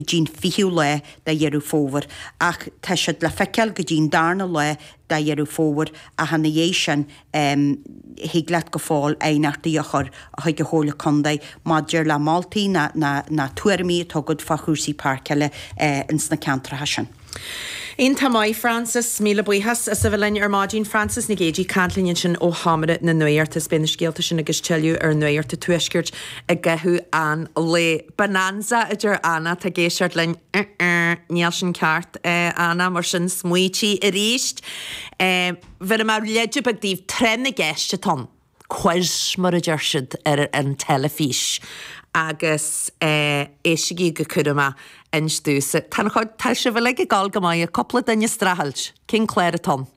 dtí'n 20ú lá de Dheireadh Fómhair, ach tá siad le feiceáil go dtí'n darna lá de Dheireadh Fómhair, ach ina dhiaidh sin thig leat go fóill aighneachtaí a chur chuig an Chomhairle Contae maidir le moltaí ná tuairimí atá agat fá chúrsaí páirceála ins na ceantracha sin. Iontach maith, Frances. Míle buíochas as a bheith linn ar maidin. Frances Nic Géadaigh ag caint linn ansin ó Sheomra na Nuachta. Is beidh na scéalta sin agus tuilleadh ar Nuacht an Tuaiscirt i gcaitheamh an lae. Bonanza, a deir Anna, atá ag éisteacht linn. Uh-uh, níl sin ceart, Anna, mar sin smaoitigh arís. Bhéarfaidh mé leide beag daoibh, tráth na gceist atá ann. quiz mar a deir siad ar an teilifís agus éistigí go cúramach inis domhsa. Tá an chuid, tá sibh uilig ag dul go maith, cúpla duine ag streachailt. Cén clár atá ann?